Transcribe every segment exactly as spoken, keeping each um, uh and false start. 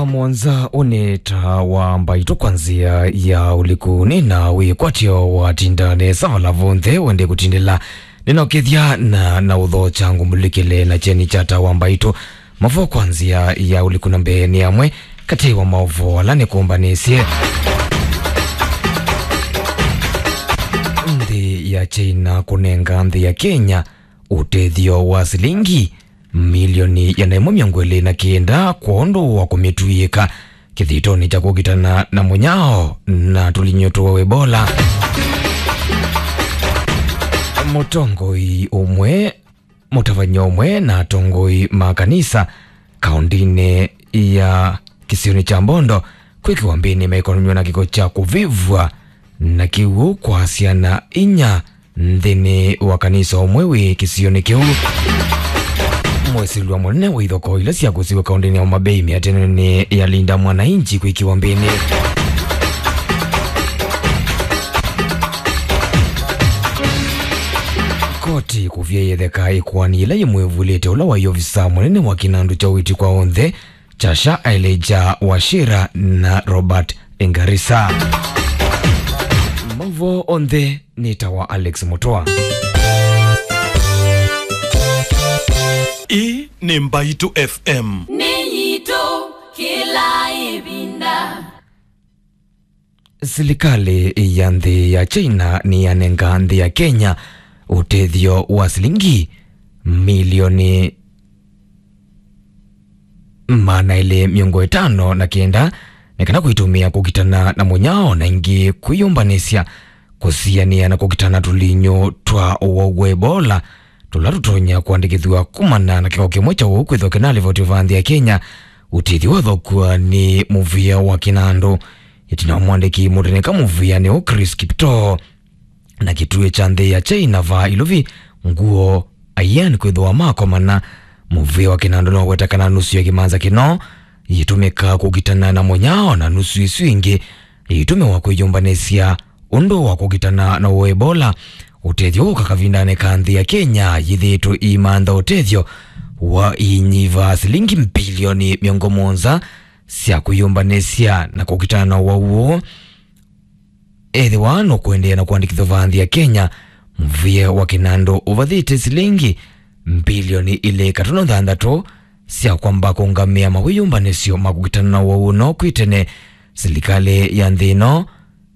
Mũonza ũnĩ ta wa mbaitũ kwa nzĩa ya ũliku, nĩ na wĩkwatyo watinda nesa vala vonthe wende kũtindĩla. Nĩnokĩthya na, na ũthokya ngũmbũlĩkĩle na kyeni kya ta wa mbaitũ. Mavo kwa nzĩa ya ũliku na mbee nĩ amwe katĩ wa maũvoo ala nĩkũmbanĩsye. Nthĩ ya China kũnenga nthĩ ya Kenya ũtethyo wa silingi milioni ĩana ĩmwe mĩongo ĩlĩ na kenda kwondũ wa kũmĩtw'ĩĩka kĩthĩtonĩ kya kũkitana na mũnyao na tũlinyũ twa Ebola. Mũtongoi ũmwe, mũtavany'a ũmwe na atongoi ma kanisa kaũndĩnĩ ya kĩsionĩ kya Mbondo kwĩkĩwa mbĩnĩ maikonanywa na kĩko kya kũvĩvw'a na kĩw'ũ kwa syana inya nthĩnĩ wa kanisa ũmwe wĩ kĩsionĩ kĩu. Mwĩsĩlwa mũnene wa ithokoo ila sya kũsiw'a kaũndĩnĩ ya Homa Bay mĩatĩanonĩ ya Linda Mwananchi kwĩkĩwa mbĩnĩ. Koti kũvya ĩtheka ĩkoani ĩla yĩmwĩvulĩte ũla waĩ ovisa mũnene wa kĩnandũ kya ũiiti kwa onthe Kyasha Elijah Wachira na Robert Engarisa. Mavo onthe nĩ ta wa Alex Mũtwa. Ii nĩ Mbaitũ F M. Nĩ yitũ kĩla ĩvinda. Silikalĩ ya nthĩ ya China nĩyanenga nthĩ ya Kenya ũtethyo wa silingi milioni maana elĩ mĩongo ĩtano na kenda nĩ kana kũitũmĩa kũkitana na mũnyao na ĩngĩ kwĩyũmbanĩsya kũsianĩa na kũkitana tũlinyũ twa ũwau wa Ebola tũla tũtonya kũandĩkĩthw'a kumana na kĩko kĩmwe kya ũwau kwĩthwa kĩnalivoti va nthĩ ya Kenya. Ũtethyo wathokw'a nĩ mũvĩa wa kĩnandũ. Ĩtina wa mwandĩki mũteneka mũvĩanĩ ũũ Chris Kiptoo na kĩtuĩ kya nthĩ ya China va ilovi nguo Ayan kwĩthĩwa makomana, mũvĩa wa kĩnandũ nĩwaweta kana nusu ya kĩmanza kĩno yĩtũmĩka kũkitana na mũnyao na nusu ĩsu ĩngĩ yĩtũmĩwa kwĩyũmbanĩsya ũndũ wa kũkitana na ũwau wa Ebola. Ũtethyo ũka kavindanĩ ka nthĩ ya Kenya yĩthĩĩtwe ĩimantha ũtethyo wa iinyiva silingi mbilioni mĩongo mũonza sya kwĩyũmbanĩsya na kũkitana na ũwau ũũ. Ethĩwa nũkũendeea na kũandĩkĩthw'a va nthĩ ya Kenya, mũvĩa wa kĩnandũ ũvathĩte silingi mbilioni ilĩ katono thanthatũ sya kwamba kũngamĩa mawĩyũmbanĩsyo ma kũkitana na ũwau ũno kwĩ tene. Silikalĩ ya nthĩ ĩno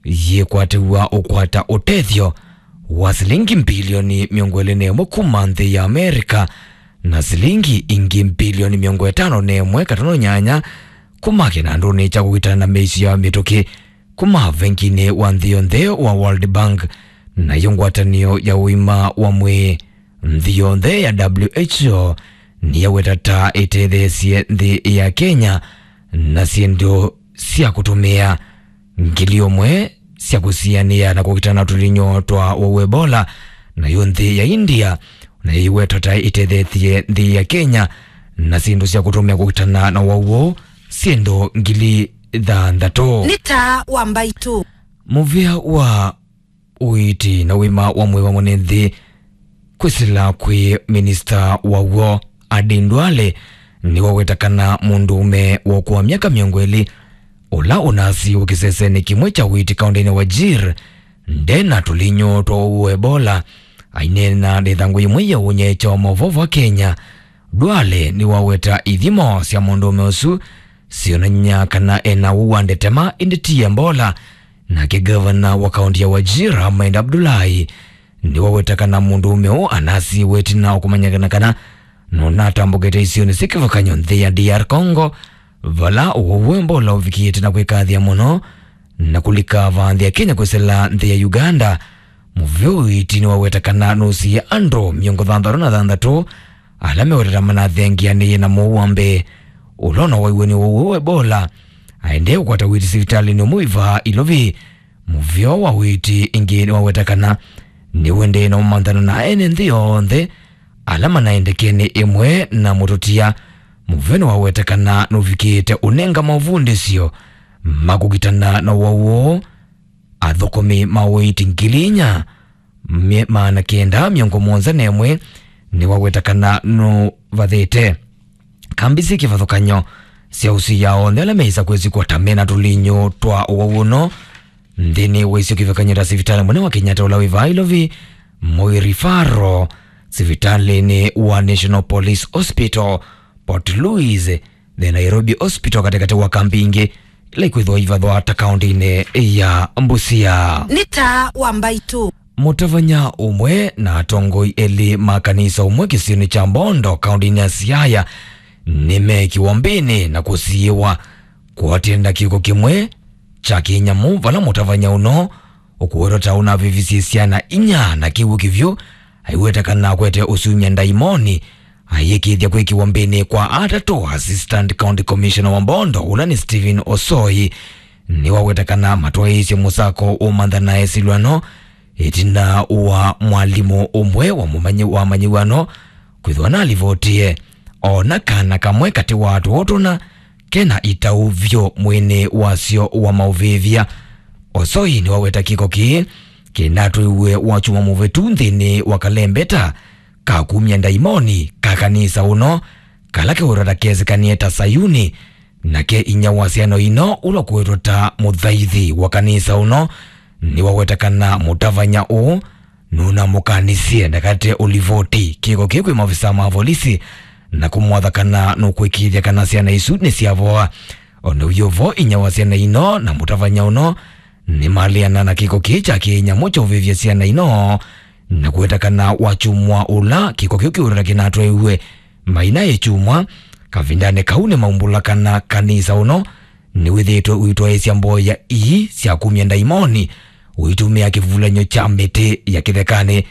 yĩkwatĩw'a ũkwata ũtethyo wa silingi mbilioni mĩongo ĩlĩ na ĩmwe kuma nthĩ ya Amerika na silingi ingĩ mbilioni mĩongo ĩtano na ĩmwe katono nyanya kuma kĩnandũnĩ kya kũkitana na mĩisyo ya mĩtũkĩ kuma venginĩ wa nthĩ yonthe wa World Bank, nayo ngwatanĩo ya ũima wa mwĩĩ nthĩ yonthe ya W H O nĩyaweta ta ĩtetheesye nthĩ ya Kenya na syĩndũ sya kũtũmĩa ngili ũmwe sya kũsianĩa na kũkitana na tũlinyũ twa ũwau wa Ebola, nayo nthĩ ya India nayo ĩwetwa ta ĩtetheethye nthĩ ya Kenya na syĩndũ sya kũtũmĩa kũkitana na ũwau ũũ syĩndũ ngili thanthatũ. Nĩ taa wa mbaitũ. Mũvĩa wa ũiiti na ũima wa mwĩĩ wa mwene nthĩ kwĩsĩla kwĩ minista waw'o Aden Duale nĩwaweta kana mũndũũme wa ũkũũ wa myaka mĩongo ĩlĩ ũla ũnasiiwe kĩsesenĩ kĩmwe kya ũiiti kaũndĩnĩ wa Wajir nde na tũlinyũ twa ũwau wa Ebola. Aineena na ĩthangũ yĩmwe ya ũnyaĩĩkyo wa maũvoo va Kenya, Duale nĩwaweta ithimo sya mũndũũme ũsu syonany'a kana e na ũwau wa ndetema, ĩndĩ ti Ebola. Nake ngavana wa kaũntĩ ya Wajir, Ahmed Abdullahi, nĩwaweta kana mũndũũme ũũ anasiiwe ĩtina wa kũmanyĩkana kana nũnatambũkĩte isionĩ syĩ kĩvathũkany'o nthĩ ya D R Congo, vala ũwau wa Ebola ũvikĩĩte na kwĩkathĩa mũno na kũlika va nthĩ ya Kenya kwĩsĩla nthĩ ya Uganda. Mũvĩa ũiiti nĩwaweta kana nũsiie andũ mĩongo thanthatũ na thanthatũ ala mewetete manathengeanĩie na mũwau wa mbee ũla ũnawaiwe nĩ ũwau ũũ wa Ebola. Aendee kũkwata ũiiti sivitalĩnĩ ũmwe wĩ vaa Ilovi. Mũvĩa wa ũiiti ĩngĩ nĩwaweta kana nĩũendee na ũmanthano na ene nthĩ yonthe ala manaendekene ĩmwe na mũtũtia. Mũvĩa nĩwaweta kana nũvikĩĩte ũnenga mavundĩsyo ma kũkitana na ũwau ũũ athũkũmi ma ũiiti ngili inya mye-, maana kenda mĩongo mũonza na ĩmwe. Nĩwaweta kana nũvathĩte kambĩ syĩ kĩvathũkany'o sya ũsĩ ya onthe ala meĩsa kwĩsĩkwa ta mena tũlinyũ twa ũwau ũno nthĩnĩ wa isio kĩvathũkany'o ta sivitalĩ mũnene wa Kenyatta ũla wĩ vaa Ilovi, Moi Referral, sivitalĩnĩ wa National Police Hospital, Port Louis, the Nairobi Hospital, katĩkatĩ wa kambi ingĩ ila ikwĩthwa ivathwa ta kaũntĩnĩ ya Busia. Nĩ taa wa Mbaitũ. Mũtavany'a ũmwe na atongoi elĩ ma kanisa ũmwe kĩsionĩ kya Mbondo, kaũntĩnĩ ya Siaya, nĩmeekiwa mbĩnĩ na kũsiĩwa kũatĩana kĩko kĩmwe kya kĩnyamũ, vala mũtavany'a ũno ũkũwetwa ta ũnavivisye syana inya na kĩw'ũ kĩvyũ, aiweta kana akwete ũsumya ndaimoni, ayĩkĩĩthya kwĩkĩwa mbĩnĩ kwa atatũ. Assistant County Commissioner wa Mbondo, ũla nĩ Stephen Osoi, nĩwaweta kana matwaĩĩsye mũsako ũmantha na esilwano ĩtina wa mwalimũ ũmwe wa mũmanyi wa manyiwano kwĩthwa nalivotie ona kana kamwe katĩ wa atũo tũna kena itau vyũ mwĩnĩ wasyo wa maũvĩvya. Osoi nĩwaweta kĩko kĩĩ kĩnatwĩiwe wakyumwa mũvĩtu nthĩnĩ wa kalembeta ka kumya ndaimoni ka kanisa ũno, kala kewetwa ta kesĩkanie ta Sayuni, nake inya wa syana ino ũla ũkũwetwa ta mũthaithi wa kanisa ũno, nĩwaweta kana mũtavany'a ũũ nũnamũkanisye ndakate ũlivoti kĩko kĩĩ kwĩ maofisa ma volisi na kũmwatha kana nũkwĩkĩĩthya kana syana isu nĩsyavoa. O na wĩ o vo, inya wa syana ino na mũtavany'a ũno nĩmaleana na kĩko kĩĩ kya kĩnyamũ kya ũvĩvya syana ino, na kũweta kana wakyumwa ũla kĩko kĩu kĩũtata kĩnatwaiwe maina ĩkyumwa, kavindanĩ kau nĩmaumbũla kana kanisa ũno nĩwĩthĩĩtwe ũitwaĩĩsya mboya ii sya kumya ndaimoni ũitũmĩa kĩvulanyo kya mĩtĩ ya kĩthekanĩ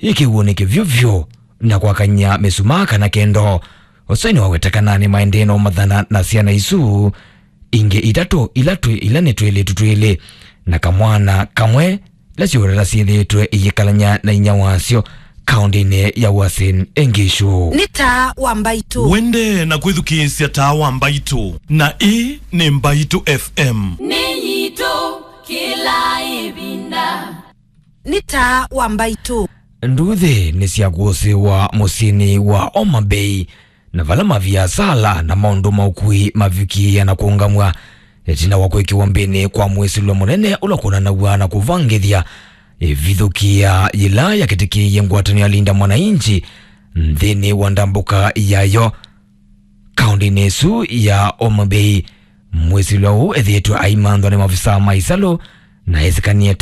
yĩ kĩw'ũnĩ kĩvyũ vyũ na kwakany'a mĩsumaa kana kendo. Osoi nĩwaweta kana nĩmaendee na ũmathana na syana isu ingĩ itatũ ila twĩ, ila nĩ twĩlĩtu twĩlĩ na kamwana kamwe, ila syũtata syĩthĩĩtwe iyĩkalany'a na inya wasyo kaũntĩnĩ ya Uasin Gishu. Nĩ taa wa Mbaitũ. Wende na kwĩthukĩĩsya taa wa Mbaitũ, na ĩĩ nĩ Mbaitũ F M. Nĩ yitũ kĩla ĩvinda. Nĩ taa wa Mbaitũ. Nduthi nĩsyakũsĩĩwa mũsyĩnĩ wa Homa Bay, na vala maviasala na maũndũ ma ũkui mavikĩĩa na kũũngamw'a ĩtina wa kwĩkĩwa mbĩnĩ kwa mwĩsĩlwa mũnene ũla ũkonanaw'a na kũvangĩthya ĩvithũkĩa yĩla yakĩtĩkĩie ngwatanĩo ya Linda Mwananchi nthĩnĩ wa ndambũka yayo kaũntĩnĩ ĩsu ya Homa Bay. Mwĩsĩlwa ũũ ethĩĩtwe aimanthwa nĩ mavisaa ma ĩsalũ na esĩkanie ta